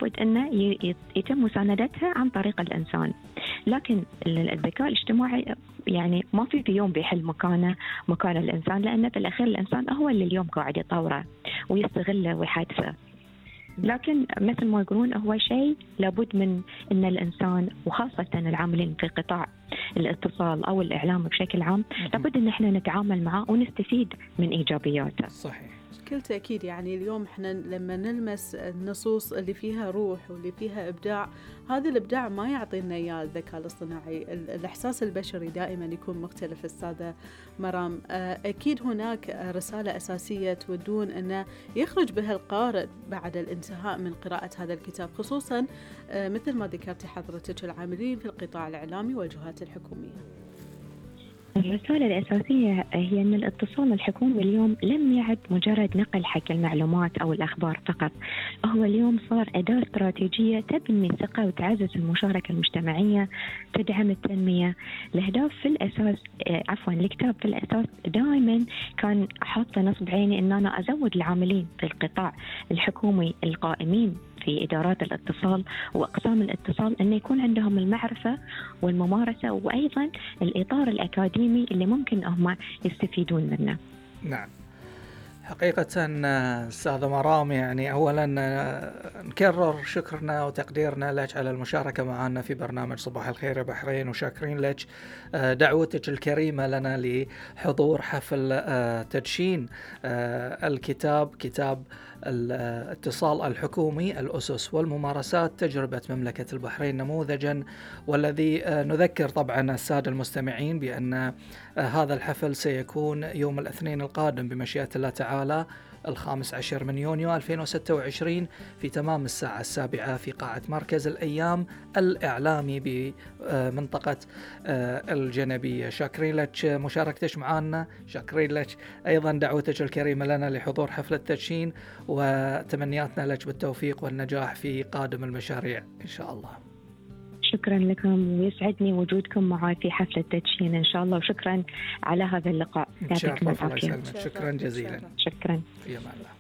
لابد أنه يتم مساندتها عن طريق الإنسان. لكن الذكاء الاجتماعي يعني ما في يوم بيحل مكان الإنسان، لأنه في الأخير الإنسان هو اللي اليوم قاعد يطوره ويستغله ويحدثه. لكن مثل ما يقولون هو شيء لابد من أن الإنسان وخاصة العاملين في قطاع الاتصال أو الإعلام بشكل عام لابد أن احنا نتعامل معه ونستفيد من إيجابياته. صحيح. بكل تأكيد. يعني اليوم احنا لما نلمس النصوص اللي فيها روح واللي فيها إبداع، هذا الإبداع ما يعطينا إياه الذكاء الاصطناعي. الإحساس البشري دائما يكون مختلف. أستاذة مرام، أكيد هناك رسالة أساسية تودون أن يخرج بها القارئ بعد الانتهاء من قراءة هذا الكتاب، خصوصا مثل ما ذكرتي حضرتك العاملين في القطاع الإعلامي والجهات الحكومية. الرسالة الأساسية هي أن الاتصال الحكومي اليوم لم يعد مجرد نقل حق المعلومات أو الأخبار فقط، هو اليوم صار أداة استراتيجية تبني ثقة وتعزز المشاركة المجتمعية، تدعم التنمية. الأهداف في الأساس الكتاب في الأساس دائما كان حاطة نصب عيني أن أنا أزود العاملين في القطاع الحكومي القائمين في إدارات الاتصال وأقسام الاتصال أن يكون عندهم المعرفة والممارسة وأيضا الإطار الأكاديمي اللي ممكن هم يستفيدون منه. نعم، حقيقة أستاذة مرام، يعني أولا نكرر شكرنا وتقديرنا لك على المشاركة معنا في برنامج صباح الخير يا بحرين، وشاكرين لك دعوتك الكريمة لنا لحضور حفل تدشين الكتاب، كتاب الاتصال الحكومي الأسس والممارسات، تجربة مملكة البحرين نموذجا، والذي نذكر طبعا السادة المستمعين بأن هذا الحفل سيكون يوم الاثنين القادم بمشيئة الله تعالى 15 من يونيو 2026 في تمام الساعة 7 في قاعة مركز الأيام الإعلامي بمنطقة الجنبية. شاكرين لك مشاركتك معنا، شاكرين لك أيضا دعوتك الكريمة لنا لحضور حفل التدشين، وتمنياتنا لك بالتوفيق والنجاح في قادم المشاريع إن شاء الله. شكرا لكم ويسعدني وجودكم معي في حفلة التدشين إن شاء الله، وشكرا على هذا اللقاء. يعطيكم العافية. شكرا جزيلا. شكرا. في أمان الله.